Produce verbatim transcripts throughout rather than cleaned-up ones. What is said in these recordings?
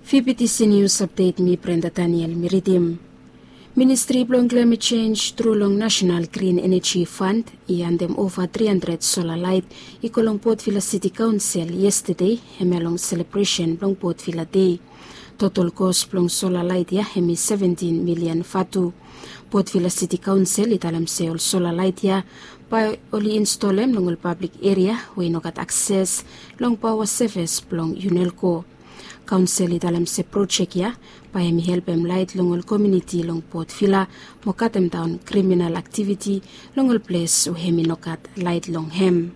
Fifty Seniors Update, mi Brenda Daniel mi ridim. Ministri blong Climate Change tru long National Green Energy Fund i handem ova tri handred sola lait i go long Port Vila City Kaonsel yestade, hemia long selebresen blong Port Vila Dei. Total kos blong sola lait ya hem i seventin milian vatu. Port Vila City Kaonsel i talem se ol sola lait ya bae oli instolem long ol pablik eria we i no gat akses long paoa sevis blong Unelco. Kaonsel i talem se projek ya bae hem i helpem lait long ol komuniti long Port Vila mo katemdaon kriminal aktiviti long ol ples we hem i no gat lait long hem.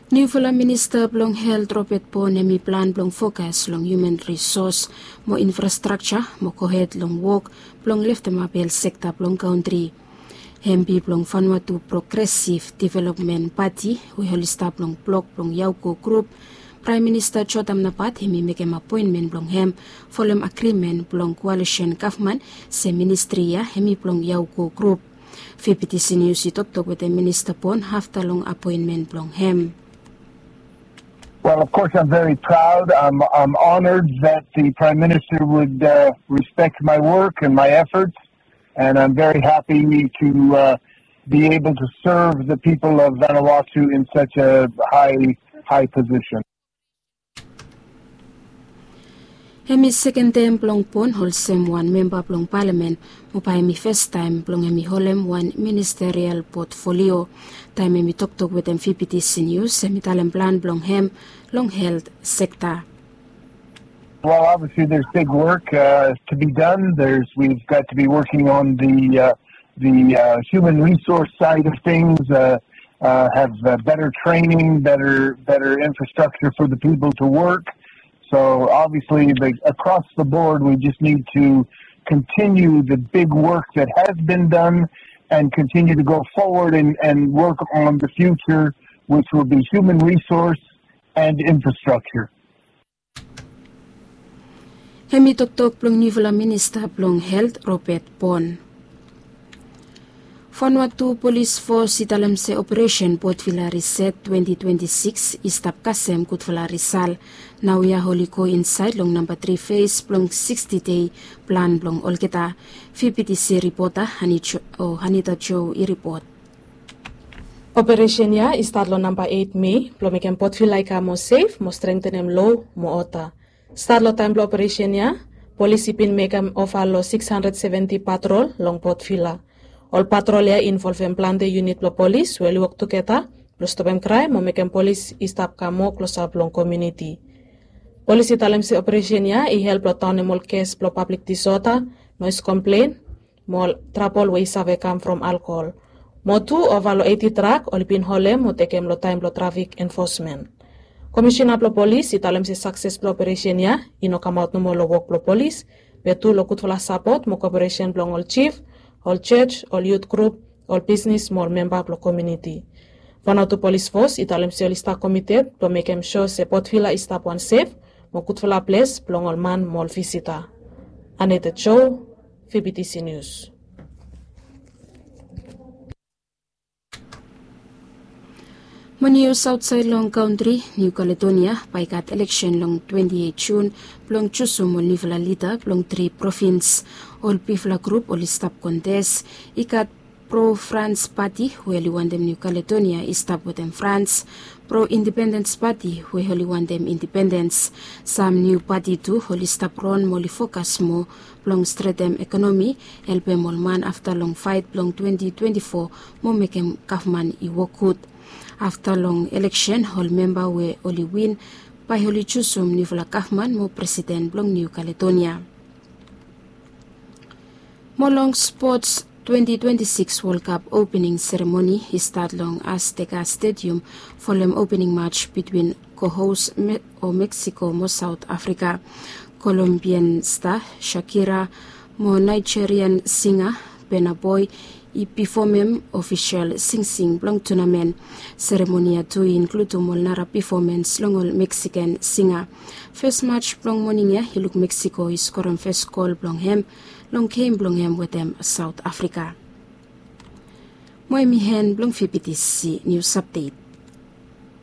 Niufala Minista blong Helt Robert Bon hem i plan blong fokas long human resource mo infrastrakja mo gohed long wok blong leftemap helt sekta blong kantri. Hempi blong Vanuatu Progressive Development Party we oli stap long blok blong Yauco Group, Praem Minista Jotam Napat hem i mekem apoenmen blong hem folem agrimen blong koalisen gavman se ministri ya hem i blong Yauco Group. Fifty Seniors i toktok wetem Minista Bon afta long apoenmen blong hem. Well, of course, I'm very proud. I'm, I'm honored that the Prime Minister would uh, respect my work and my efforts, and I'm very happy to uh, be able to serve the people of Vanuatu in such a high, high position. Hem i seken tem blong Bon olsem wan memba blong palamen, mo bae hem i fastaem blong hem i holem wan ministerial potfolio. Taem hem i toktok wetem Fifty Seniors hem i talem plan blong hem long helt sekta. Well, obviously, there's big work uh, to be done. There's we've got to be working on the uh, the uh, human resource side of things. Uh, uh, have uh, better training, better better infrastructure for the people to work. So obviously, the, across the board, we just need to continue the big work that has been done and continue to go forward and, and work on the future, which will be human resource and infrastructure. Hem i toktok blong niufala minista blong helt Robert Bon. Vanuatu Polis Fos i talem se operesen Port Vila Riset twenti twenti sikis i stap kasem gudfala risal. Naoia oli go insaed long namba tri fes blong siksti dei plan blong olgeta. Fifty Seniors ripota Hanita Jo i ripot. Operesen ya i stat long namba eit Mei blong mekem Port Vila i kam moa sef mo strengtenem lo mo oda. Stat long taem blong operesen ya, polis i bin mekem ova long sikis handred seventi patrol long Port Vila. Ol patrol ya i involvem plante yunit blong polis we oli wok tugeta blong stopem kraem mo mekem polis i stap kam moa klosap long komuniti. Polis i talem se operesen ya i help long daonem ol kes blong pablik disoda, noes komplen, mo ol trabol we i save kam from alkohol. Mo tu ova long eiti trak oli bin holem mo tekem long taem blong trafik enfosmen. Komisina blong polis i talem se sakses blong operesen ya i no kamaot nomo long wok blong polis, be tu long gudfala sapot mo koperesen blong ol jif, ol jos, ol yut grup, ol bisnis mo ol memba blong komuniti. Vanuatu Polis Fos i talem se oli stap komited blong mekem sua se Port Vila i stap wan sef mo gudfala ples blong ol man mo ol visita. Aneta Jo, Fifty Seniors. Mo nius aotsaed long kantri, Niu Kaledonia bae i gat eleksen long twenti eit Jun blong jusum ol niufala lida blong tri provins. Ol bigfala grup oli stap kontes. I gat pro Frans pati we oli wantem Niu Kaledonia i stap wetem Frans, pro Indipendens pati we oli wantem indipendens. Sam niu pati tu oli stap ron mo oli fokas moa blong stretem ekonomi, helpem ol man afta long faet blong twenti twenti fo mo mekem gavman i wok gud. Afta long eleksen ol memba we oli win bae oli jusum niufala gavman mo presiden blong Niu Kaledonia. Mo long spots, twenti twenti sikis Wol Kap opening seremoni i stat long Azteca Stadium folem opening mats bitwin kohos o Meksiko mo Saot Afrika. Kolombian sta Shakira mo Naijerian singa Burna Boy i pifomem ofisol singsing blong tunamen. Seremoni ya tu i inkludum ol nara pifomens long ol Meksikan singa. Fes mats blong moning ya i luk Meksiko i skorem fes gol blong hem long gem blong hem wetem Saot Afrika. Mo hem i hen blong Fifty Seniors Apdet.